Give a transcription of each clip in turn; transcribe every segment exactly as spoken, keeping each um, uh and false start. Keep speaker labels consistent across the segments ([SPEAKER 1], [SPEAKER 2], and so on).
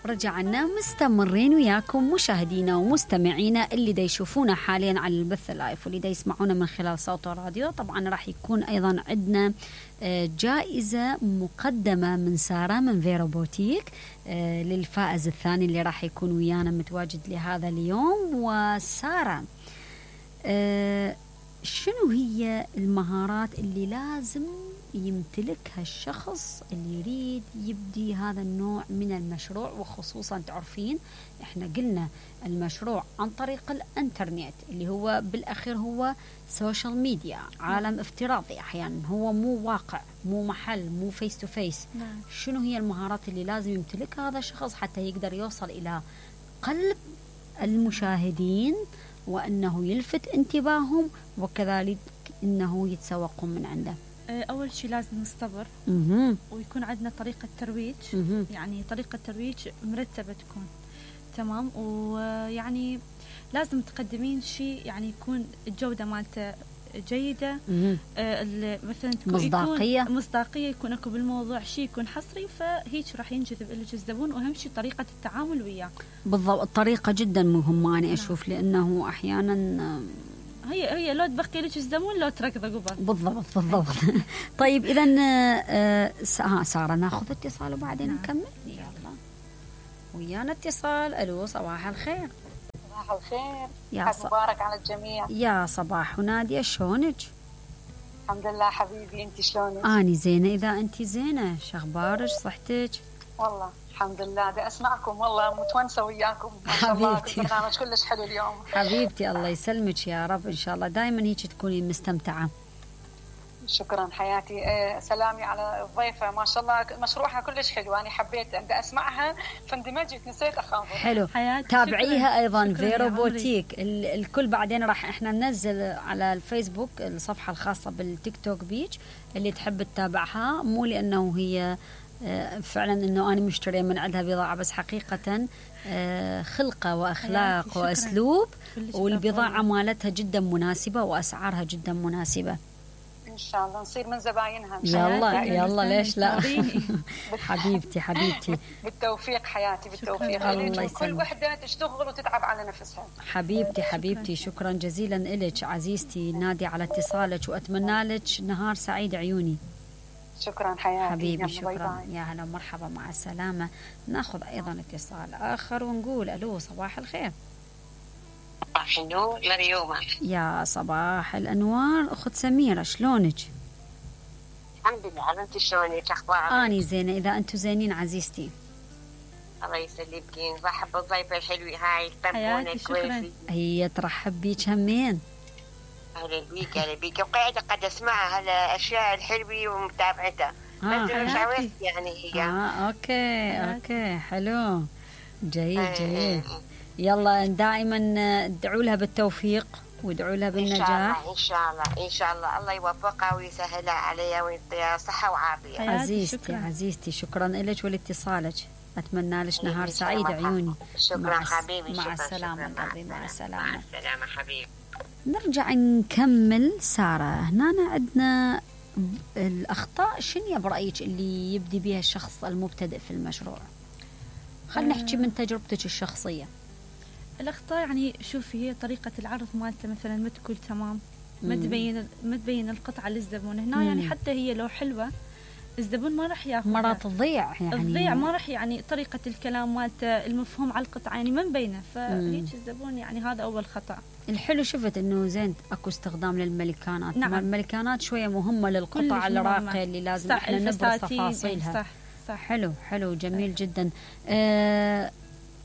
[SPEAKER 1] رجعنا مستمرين وياكم مشاهدينا ومستمعينا اللي دا يشوفونا حاليا على البث اللايف واللي دا يسمعونا من خلال صوت الراديو. طبعا راح يكون أيضا عندنا جائزة مقدمة من سارة من فيرو بوتيك للفائز الثاني اللي راح يكون ويانا متواجد لهذا اليوم. وسارة، شنو هي المهارات اللي لازم يمتلكها الشخص اللي يريد يبدي هذا النوع من المشروع؟ وخصوصا تعرفين احنا قلنا المشروع عن طريق الانترنت اللي هو بالاخير هو سوشيال ميديا، عالم افتراضي احيانا، هو مو واقع، مو محل، مو فيس تو فيس. شنو هي المهارات اللي لازم يمتلكها هذا الشخص حتى يقدر يوصل الى قلب المشاهدين وانه يلفت انتباههم وكذلك انه يتسوقون من عنده؟
[SPEAKER 2] أول شيء لازم نصطبر ويكون عندنا طريقة ترويج، يعني طريقة ترويج مرتبة تكون تمام، ويعني لازم تقدمين شيء يعني يكون الجودة مالته جيدة، آه مثلا تكون
[SPEAKER 1] مصداقية
[SPEAKER 2] يكون مصداقية يكون اكو بالموضوع شيء يكون حصري، فهيك راح ينجذب لك الزبون. واهم شيء طريقة التعامل وياه.
[SPEAKER 1] بالضبط، الطريقة جدا مهمة أنا أشوف، لأنه أحيانا
[SPEAKER 2] هي هي لو تبقي لك الزبون لو تركضه قبل.
[SPEAKER 1] بالضبط بالضبط. طيب إذا ها سارة ناخذ اتصال وبعدين نعم. نكمل. يلا ويانا اتصال. ألو، صباح الخير.
[SPEAKER 3] صباح الخير،
[SPEAKER 1] يا
[SPEAKER 3] ص... مبارك على الجميع.
[SPEAKER 1] يا صباح ونادية، شلونك؟
[SPEAKER 3] الحمد لله حبيبي، انت شلونك؟
[SPEAKER 1] أني زينة. إذا أنت زينة شخبارك صحتك؟
[SPEAKER 3] والله الحمد لله، بدي اسمعكم، والله متونسه وياكم ما شاء الله. البرنامج كلش حلو اليوم
[SPEAKER 1] حبيبتي. الله يسلمك يا رب، ان شاء الله دائما هيك تكوني مستمتعه.
[SPEAKER 3] شكرا حياتي. آه سلامي على الضيفه، ما شاء الله مشروعها كلش حلو، انا حبيت بدي اسمعها فاندمجت، نسيت اخاف.
[SPEAKER 1] حلو، تابعيها ايضا فيرو بوتيك. الكل بعدين راح احنا ننزل على الفيسبوك الصفحه الخاصه بالتيك توك بيج اللي تحب تتابعها، مو لانه هي فعلا انه انا مشتريه من عندها بضاعه، بس حقيقه خلقه واخلاق واسلوب، والبضاعه مالتها جدا مناسبه واسعارها جدا مناسبه.
[SPEAKER 3] ان شاء الله نصير من زباينها.
[SPEAKER 1] يلا يلا ليش لا. حبيبتي حبيبتي
[SPEAKER 3] بالتوفيق حياتي، بالتوفيق.
[SPEAKER 1] الله
[SPEAKER 3] كل وحده تشتغل وتتعب على نفسها.
[SPEAKER 1] حبيبتي حبيبتي، شكرا جزيلا لك عزيزتي نادي على اتصالك، واتمنى لك نهار سعيد عيوني.
[SPEAKER 3] شكرا حياتي
[SPEAKER 1] حبيبي، شكرا. يا هلا ومرحبا، مع السلامة. ناخذ أيضا اتصال آخر ونقول ألو، صباح الخير.
[SPEAKER 4] صباح النور لريومة.
[SPEAKER 1] يا صباح الأنوار أخت سميرة، شلونك؟
[SPEAKER 4] الحمد لله، أنت شلونك؟ أخبارك؟
[SPEAKER 1] أني زينة. إذا أنتم زينين عزيزتي.
[SPEAKER 4] الله يسلمكين. رحب بالضيفة الحلوة هاي تبونك كويسي.
[SPEAKER 1] هي ترحب بيك همين.
[SPEAKER 4] أهلا بيك أهلا بيك، وقاعدة قد أسمعها هالأشياء الحلوة ومتابعتها.
[SPEAKER 1] آه.
[SPEAKER 4] بس مش عاوزت يعني هي.
[SPEAKER 1] آه أوكي أوكي حلو، جيد جيد. يلا دائما ادعوا لها بالتوفيق وادعوا لها بالنجاح.
[SPEAKER 4] إن شاء الله إن شاء الله إن شاء الله، الله يوفقها ويسهلها عليها ويعطيها صحة وعافية.
[SPEAKER 1] عزيزتي شكرا. عزيزتي شكرا لك ولاتصالك، أتمنى لك نهار سعيد عيوني.
[SPEAKER 4] شكرا حبيبي.
[SPEAKER 1] مع السلامة قلبي، مع السلامة.
[SPEAKER 4] مع السلامة حبيبي.
[SPEAKER 1] نرجع نكمل. سارة، هنا عندنا الأخطاء، شنو برأيك اللي يبدي بها الشخص المبتدئ في المشروع؟ خلينا نحكي من تجربتك الشخصية.
[SPEAKER 2] الأخطاء يعني شوفي، هي طريقة العرض مالته مثلا ما تكون تمام، ما تبين ما تبين القطعة للزبون هنا. مم. يعني حتى هي لو حلوة الزبون ما راح ياخذ،
[SPEAKER 1] مرات تضيع، يعني
[SPEAKER 2] تضيع ما راح، يعني طريقة الكلام مالته المفهوم على القطعة يعني ما مبينة، فهيك الزبون يعني هذا أول خطأ.
[SPEAKER 1] الحلو شفت انه زين اكو استخدام للملكانات.
[SPEAKER 2] نعم.
[SPEAKER 1] الملكانات شويه مهمه للقطع الراقيه اللي لازم احنا نبرز تفاصيلها.
[SPEAKER 2] صح صح.
[SPEAKER 1] حلو حلو جميل صح. جدا. آه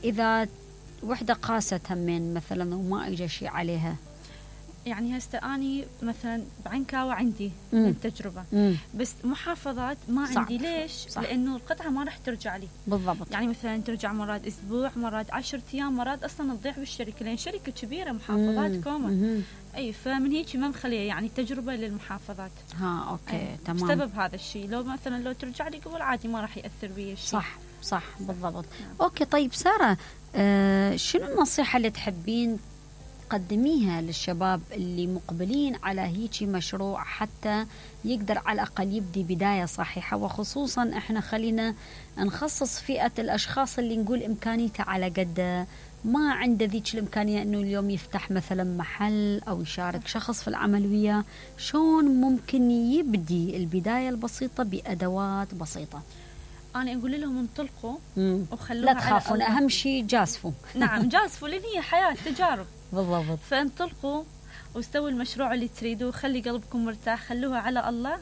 [SPEAKER 1] اذا وحده قاست همين مثلا وما اجى شيء عليها،
[SPEAKER 2] يعني هسه اني مثلا بعنكاوة عندي من التجربة،
[SPEAKER 1] مم.
[SPEAKER 2] بس محافظات ما
[SPEAKER 1] صح.
[SPEAKER 2] عندي. ليش؟ صح. لانه القطعة ما راح ترجع لي.
[SPEAKER 1] بالضبط.
[SPEAKER 2] يعني مثلا ترجع مرات اسبوع، مرات عشرة ايام، مرات اصلا تضيع بالشركة، لان شركة كبيرة محافظات كوما. اي فمن هيك ما مخليه يعني تجربة للمحافظات.
[SPEAKER 1] ها اوكي تمام.
[SPEAKER 2] بسبب هذا الشيء لو مثلا لو ترجع لي قبل عادي ما راح ياثر بي الشيء.
[SPEAKER 1] صح صح بالضبط. نعم. اوكي طيب سارة، آه شنو النصيحة اللي تحبين تقدميها للشباب اللي مقبلين على هيجي مشروع حتى يقدر على الأقل يبدي بداية صحيحة؟ وخصوصا احنا خلينا نخصص فئة الأشخاص اللي نقول إمكانيته على قد ما عنده ذيك الإمكانية أنه اليوم يفتح مثلا محل أو يشارك شخص في العمل وياه. شلون ممكن يبدي البداية البسيطة بأدوات بسيطة؟
[SPEAKER 2] أنا أقول لهم انطلقوا
[SPEAKER 1] لا
[SPEAKER 2] وخلوها
[SPEAKER 1] تخافون، أهم شيء جازفوا.
[SPEAKER 2] نعم جازفوا، لأن هي حياة تجارب.
[SPEAKER 1] بالضبط.
[SPEAKER 2] فانطلقوا واستووا المشروع اللي تريدوه، خلي قلبكم مرتاح، خلوها على الله،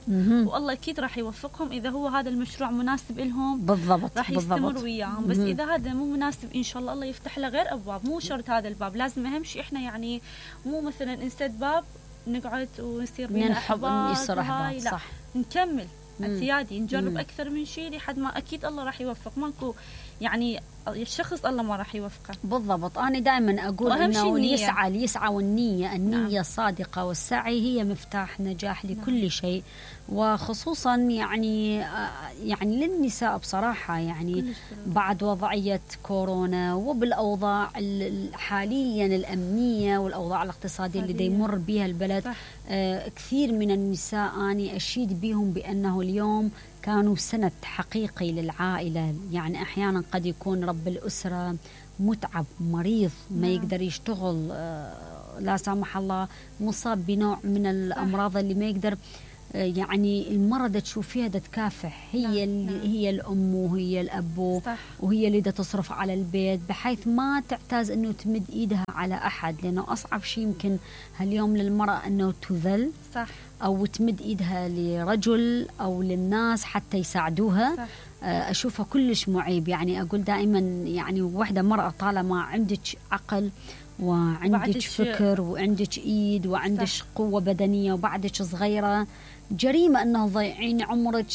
[SPEAKER 2] والله أكيد راح يوفقهم إذا هو هذا المشروع مناسب لهم.
[SPEAKER 1] بالضبط.
[SPEAKER 2] راح يستمر وياهم. بس إذا هذا مو مناسب إن شاء الله الله يفتح له غير أبواب، مو شرط هذا الباب. لازم أهم شيء إحنا يعني مو مثلا نسد باب نقعد ونصير بينا أحباط،
[SPEAKER 1] يصير أحباط. صح.
[SPEAKER 2] نكمل اعتيادي، نجرب مم. أكثر من شيء لحد ما أكيد الله راح يوفق. ماكو يعني الشخص الله ما راح يوفقه.
[SPEAKER 1] بالضبط. أنا دائما أقول إنه اللي يسعى اللي يسعى والنية النية نعم. الصادقة والسعي هي مفتاح نجاح لكل نعم. شيء، وخصوصا يعني يعني للنساء بصراحة يعني بعد وضعية كورونا وبالأوضاع حاليا الأمنية والأوضاع الاقتصادية اللي يمر بها البلد. آه كثير من النساء أنا أشيد بهم بأنه اليوم كانوا سند حقيقي للعائلة. يعني أحيانا قد يكون رب الأسرة متعب مريض ما يقدر يشتغل، آه لا سامح الله مصاب بنوع من الأمراض اللي ما يقدر، يعني المرضى تشوفيها دا تكافح، هي اللي هي الأم وهي الأب صح. وهي اللي دا تصرف على البيت بحيث ما تعتاز أنه تمد إيدها على أحد، لأنه أصعب شيء يمكن هاليوم للمرأة أنه تذل صح. أو تمد إيدها لرجل أو للناس حتى يساعدوها صح. أشوفها كلش معيب. يعني أقول دائما يعني وحدة مرأة طالما عندك عقل وعندك فكر وعندك ايد وعندك قوة بدنية وبعدك صغيرة، جريمة أنه ضيعين عمرك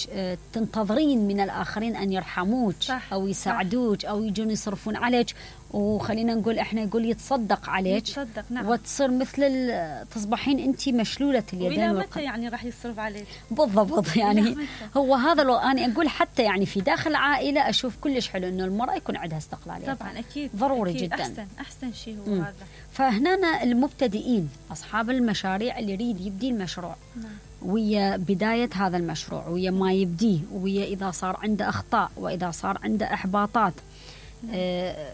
[SPEAKER 1] تنتظرين من الآخرين أن يرحموك أو يساعدوك أو يجون يصرفون عليك، وخلينا نقول إحنا يقول يتصدق عليك
[SPEAKER 2] يتصدق نعم.
[SPEAKER 1] وتصير مثل تصبحين أنت مشلولة اليدين.
[SPEAKER 2] وإلى متى يعني راح يصرف عليك؟
[SPEAKER 1] بالضبط. يعني هو هذا لو أنا أقول حتى يعني في داخل عائلة أشوف كلش حلو إنه المرأة يكون عندها استقلالية.
[SPEAKER 2] طبعا أكيد
[SPEAKER 1] ضروري
[SPEAKER 2] أكيد.
[SPEAKER 1] جدا.
[SPEAKER 2] أحسن أحسن شيء هو م. هذا.
[SPEAKER 1] فهنا المبتدئين أصحاب المشاريع اللي يريد يبدي المشروع نعم. ويا بداية هذا المشروع ويا ما يبديه ويا إذا صار عنده أخطاء وإذا صار عنده إحباطات نعم. آه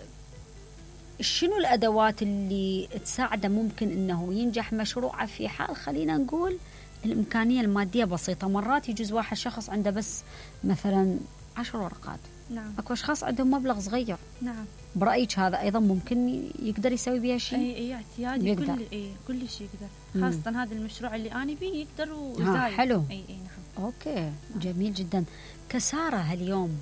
[SPEAKER 1] شنو الأدوات اللي تساعده ممكن أنه ينجح مشروعه في حال خلينا نقول الإمكانية المادية بسيطة؟ مرات يجوز واحد شخص عنده بس مثلا عشر ورقات نعم. أكو أشخاص عندهم مبلغ صغير نعم. برأيك هذا أيضا ممكن يقدر يسوي بها شيء؟
[SPEAKER 2] أي أي اعتيادي كل أي كل شيء يقدر، خاصة مم. هذا المشروع اللي أنا بيه يقدر وزايد.
[SPEAKER 1] حلو.
[SPEAKER 2] أي أي نعم.
[SPEAKER 1] أوكي نعم. جميل جدا. كسارة اليوم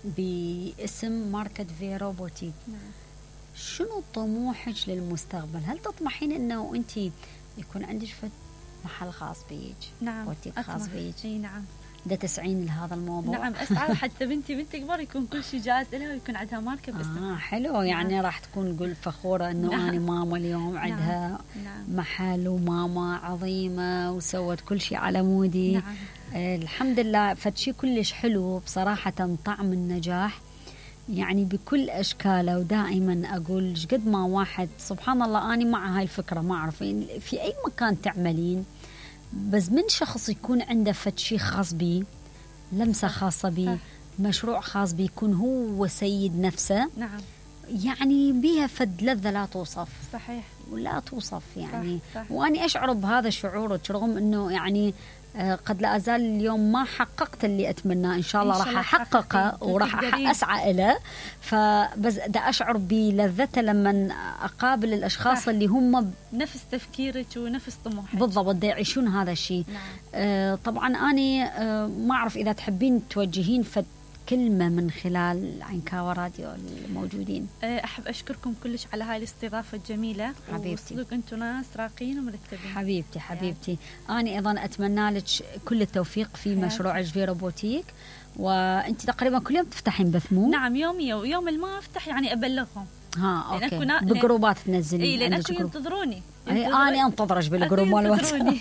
[SPEAKER 1] باسم ماركت فيرو بوتيك نعم. شنو طموحك للمستقبل؟ هل تطمحين انه انت يكون عندك محل خاص بيك؟
[SPEAKER 2] نعم.
[SPEAKER 1] بوتيك خاص بيك؟
[SPEAKER 2] اي نعم.
[SPEAKER 1] ده تسعين لهذا الموضوع؟
[SPEAKER 2] نعم اسعى حتى بنتي بنت كبار يكون كل شيء جاهز لها ويكون عندها ماركة باسمها.
[SPEAKER 1] اه حلو. يعني نعم. راح تكون قول فخورة انه نعم. انا ماما اليوم
[SPEAKER 2] نعم.
[SPEAKER 1] عندها
[SPEAKER 2] نعم.
[SPEAKER 1] محل وماما عظيمة وسوت كل شيء على مودي.
[SPEAKER 2] نعم.
[SPEAKER 1] آه الحمد لله. فشي كلش حلو بصراحة، طعم النجاح يعني بكل أشكاله. ودائما أقول قد ما واحد سبحان الله أنا مع هاي الفكرة ما أعرف في أي مكان تعملين بس من شخص يكون عنده فد شيء خاص بيه، لمسة خاصة بيه، مشروع خاص بيه، يكون هو سيد نفسه
[SPEAKER 2] نعم.
[SPEAKER 1] يعني بيها فد لذة لا توصف.
[SPEAKER 2] صحيح.
[SPEAKER 1] ولا توصف يعني
[SPEAKER 2] صح. صح.
[SPEAKER 1] وأني أشعر بهذا شعورك رغم أنه يعني قد لا أزال اليوم ما حققت اللي أتمناه. إن شاء الله راح أحققه وراح أسعى إليه. فبس دا أشعر بلذته لما أقابل الأشخاص صح. اللي هم
[SPEAKER 2] نفس تفكيرك ونفس طموحك
[SPEAKER 1] بالضبط دا يعيشون هذا الشيء.
[SPEAKER 2] نعم.
[SPEAKER 1] آه طبعا أنا آه ما أعرف إذا تحبين توجهين فد كلمة من خلال عنكاوة راديو الموجودين.
[SPEAKER 2] أحب أشكركم كلش على هاي الاستضافة الجميلة
[SPEAKER 1] حبيبتي.
[SPEAKER 2] وصدق أنتم ناس راقين ومرتبين.
[SPEAKER 1] حبيبتي حبيبتي يعني. أنا أيضا أتمنى لك كل التوفيق في مشروع فيرو بوتيك. وأنت تقريبا كل يوم تفتحين بث مو؟
[SPEAKER 2] نعم يوميا، ويوم ما أفتح يعني أبلغهم.
[SPEAKER 1] ها أوكي بجروبات تنزلين؟
[SPEAKER 2] إيه لأن أكو ينتظروني.
[SPEAKER 1] أنا أنتظرش بالجروب مال الواتساب.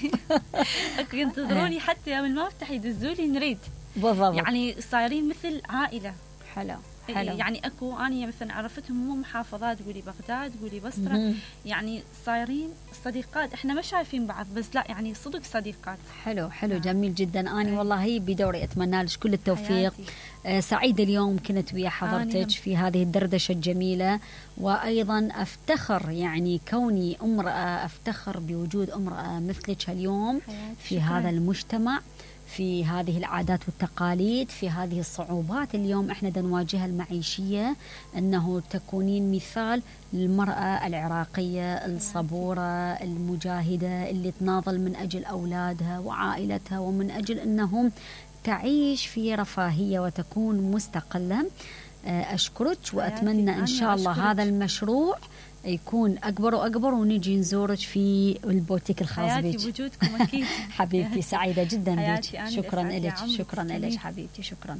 [SPEAKER 2] أكو ينتظروني حتى يوم ما أفتح يدزولي نريد.
[SPEAKER 1] بالضبط.
[SPEAKER 2] يعني صايرين مثل عائلة.
[SPEAKER 1] حلو. حلو.
[SPEAKER 2] يعني اكو اني مثلا عرفتهم مو محافظات، تقولي بغداد، تقولي بصره، مم. يعني صايرين صديقات، احنا ما شايفين بعض بس لا يعني صدق صديقات.
[SPEAKER 1] حلو حلو نعم. جميل جدا. اني والله بدوري اتمنى لك كل التوفيق. آه سعيده اليوم كنت ويا حضرتك في هذه الدردشه الجميله، وايضا افتخر يعني كوني امراه، افتخر بوجود امراه مثلك اليوم في شكرا. هذا المجتمع، في هذه العادات والتقاليد، في هذه الصعوبات اليوم احنا نواجهها المعيشية، انه تكونين مثال للمرأة العراقية الصبورة المجاهدة اللي تناضل من اجل اولادها وعائلتها، ومن اجل انهم تعيش في رفاهية وتكون مستقلة. اشكرك واتمنى ان شاء الله أشكرك. هذا المشروع يكون أكبر وأكبر ونجي نزورك في البوتيك الخاص بك.
[SPEAKER 2] حياتي بوجودكم أكيد.
[SPEAKER 1] حبيبتي سعيدة جدا بك. شكرا لك، شكرا لك حبيبتي، شكرا.